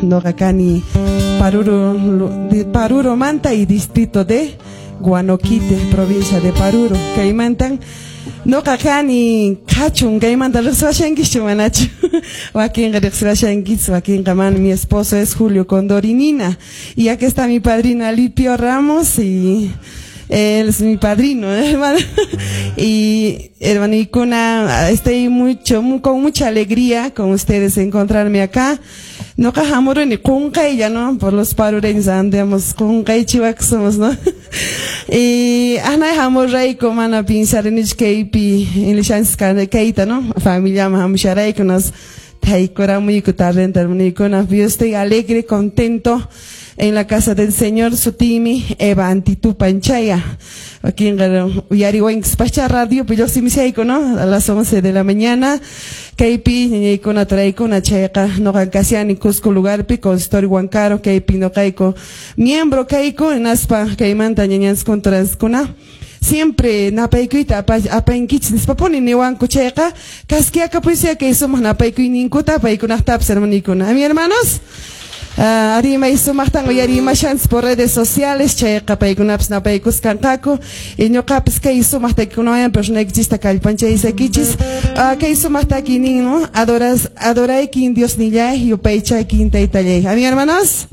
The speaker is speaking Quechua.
Noqa kani Paruro, de Paruro manta y distrito de Huanoquite, provincia de Paruro. Kaymantan noqa kani qhachun kaymanta riqsiwashankischu manachu? Wakinqa riqsiwashankis, wakinqa mana. Mi esposo es Julio Condorinina. Y aquí está mi padrino Alipio Ramos y él es mi padrino, hermano. Y hermanikuna, estoy mucho, con mucha alegría con ustedes encontrarme acá. Noqa hamuruni qunqaylla, ¿no? Por los parureños andamos qunqaychiwak somos, ¿no? Y anay hamurayku mana pinsarinichu kaypi ilishanchis kayta, ¿no? Familiaman hamusharayku nos taykuramuyku tardenta, hermanikuna. Yo estoy alegre, contento en la casa del Señor. Sutiymi Eva Antitupanchaya. Wakinqa uyariwankispascha radiopi lluqsimushayku, ¿no? A las 11 de la mañana. Kaypi ñañaykuna turaykuna chayqa noqa kashani Cusco lugarpi consultorio Huancaro kaypi noqayku miembro kayku hinaspa kaymanta ñañanchis turanchiskuna siempre napaykuyta apankichis nispapuni niwanku chayqa kaskiakapuysiya kay sumaq napaykuyninkuta paykunaqtapas, hermanikuna. A mi hermanos, arimay sumaqtan uyarimashanchis por redes sociales chayqa paykunapas napaykuskanqaku y ñuqapas kay sumaq takikunawan personaykichista kallpanchaysakichis. Kay sumaq takiynin, no? Adoras, adoraykin Diosnillay, yupaychaykin taytallay. A mi hermanos.